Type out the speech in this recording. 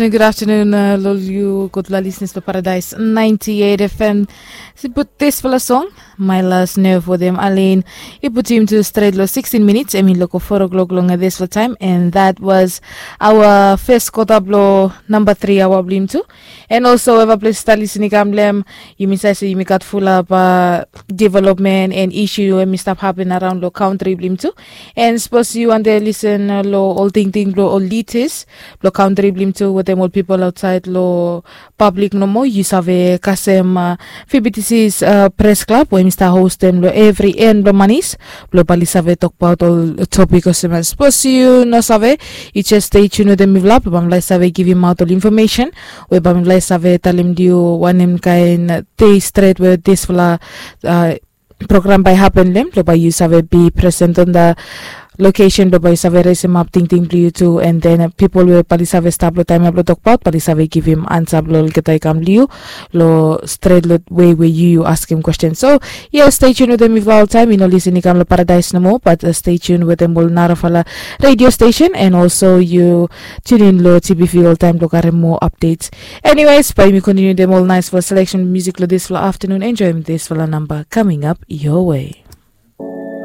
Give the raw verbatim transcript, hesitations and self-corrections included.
Good afternoon, uh, lo ol yu gudfala listeners lo Paradise ninety-eight F M. Si put disfala song, My Last Nerve wetem Alaine. I putim tu stret lo sixteen minutes, I mean lo go four o'clock long disfala taem, and that was our first kota blo namba three aoa blo yumi tu. And also, eva ples stap lisin i kam lo hem, yumi save se yumi gat fulap, uh, development and issue we hemi stap hapen araon lo kantri blo yumi tu. And sapos yu wantem lisin, uh, lo ol tingting blo ol lidas blo kantri blo yumi tu wetem ol pipol aotsaed lo pablik nomo, yu save kasem, uh, V B T C's, uh, pres klab we hemi stap hostem lo evri en blo manis blo bae oli save tokbaot ol topik olsem. Sapos yu no save, yu jes stay tuned wetem mifala blo bae mifala i save givimaot ol infomesen we bae mifala i save talem long yu wanem kaen dei stret we disfala, uh, program bae i hapen lo hem, blo bae yu save be present on the location, blo bae yu save resemap tingting blo yu tu, and then, uh, pipol we bae oli save stap lo taem ya blo tokbaot, bae oli save givim ansa blo olgeta i kam lo yu lo stret lo wei we yu yu askem kwesten. So, yes, stay tuned wetem mifala oltaem. Yu no lisin i kam lo Paradise nomo, but, uh, stay tuned wetem ol narafala radio station, and also yu tune in lo T B V oltaem blo karem moa updates. Anyways, bae yumi kontiniu wetem ol naesfala selection musik lo disfala afternoon. Enjoem disfala namba coming up your way.